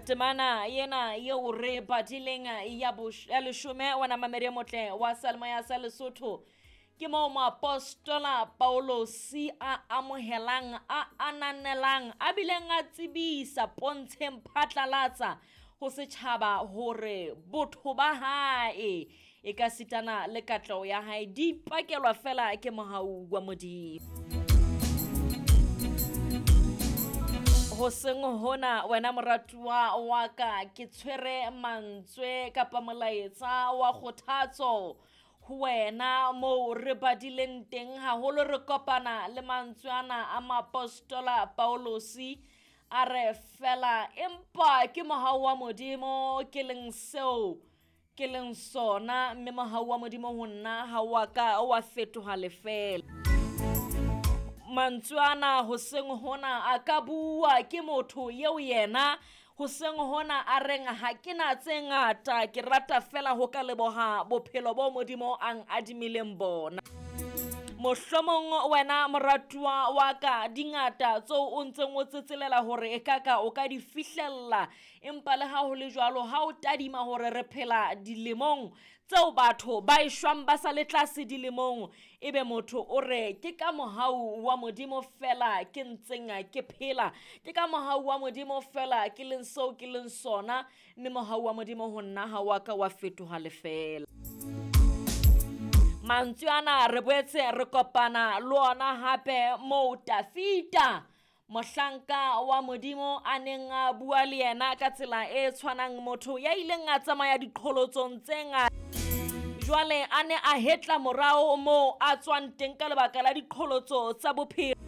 Temana ena eo re badileng ya ya leshome wena mamedi e motle wa salemoya sa Lesotho, ke moo moapostola Paulosi a amohelang, a ananelang, a bileng a tsebisa pontsheng phatlalatsa ho setjhaba hore botho ba hae e ka sitana le katleho ya hae di ipakelwa fela ke mohau wa Modimo. Hoseng hona wena moratuwa wa ka, ke tshwere mantswe kapa molaetsa wa kgothatso ho wena moo re badileng teng haholo re kopana le mantswe ana a moapostola Paulosi a re fela empa ke mohau wa Modimo ke leng seo ke leng sona, mme mohau wa Modimo ho nna ha wa ka wa fetoha lefeela. Mantswe ana hoseng hona a ka bua ke motho eo yena hoseng hona a reng ha ke na tse ngata, ke rata fela ho ka leboha bophelo bo Modimo a adimileng bona. Mohlomong wena moratuwa wa ka di ngata tseo o ntseng o tsetselela hore e ka ka o ka di fihlella, empa le ha ho le jwalo ha o tadima hore re phela dilemong tseo batho ba e shwang ba sa le tlase dilemong, ebe motho o re ke ka mohau wa Modimo fela ke ntseng ke phela, ke ka mohau wa Modimo fela ke leng seo ke leng sona, mme mohau wa Modimo ho nna ha wa ka wa fetoha lefeela. Mantswe ana re boetse re kopana le ona hape moo Tafita mohlanka wa Modimo a neng a bua le yena ka tsela e tshwanang, motho ya ileng a tsamaya diqholotsong tse ngata jwale a ne a hetla morao moo a tswang teng ka lebaka la diqholotso tsa bophelo.